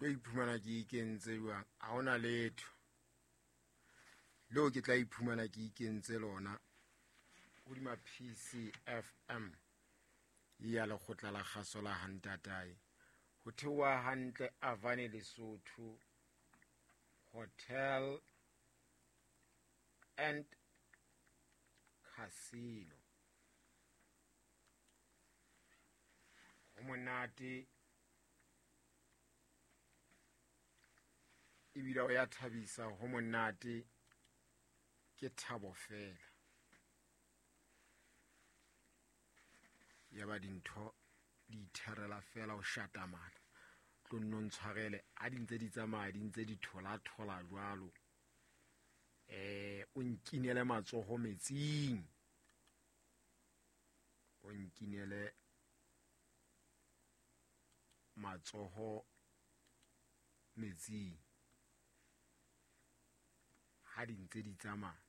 Tlo iphumana ke ikentse jwang? Ha hona letho leo ke tla iphumana ke ikentse lona hodima PCFM ya lekgotla la kgaso la hantatae. Ho theoha hantle Avane Lesotho Hotel and Casino. Ho monate ebile o ya thabisa, ho monate, ke thabo fela. Ya ba dintho di itherela fela o shatamana. Tlo nno ntshwarele ha di ntse di tsamaya, di ntse di thola-thola jwalo. O nkinele matsoho metsing, o nkinele matsoho metsing ha di ntse di tsamaya,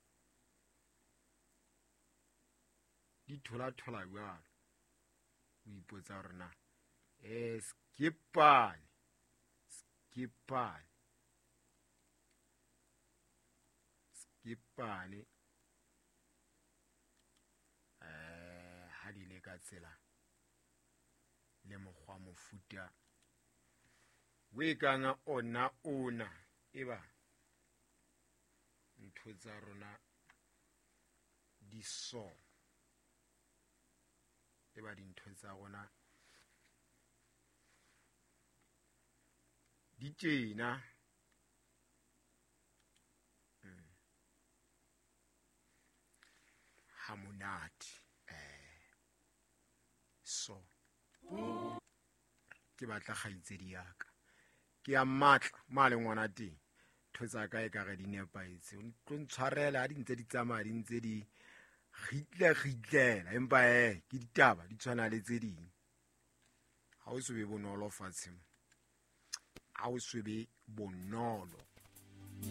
di thola-thola jwalo. O ipotsa hore na skipane skipane skipane ha di le ka tsela le mokgwa mofuta o e kang ona ona, e ba ntho tsa rona di so, e ba dintho tsa rona di tjena. Ha monate so ke batla kgaitsedi ya ka, ke ya matla ma le ngwana teng, ntho tsa ka e ka re di nepahetse. O tlo ntshwarela ha di ntse di tsamaya, di ntse di kgitle kgitlela, empa ke ditaba di tshwana le tse ding. Ha o so be bonolo fatshe mo, ha o so be bonolo.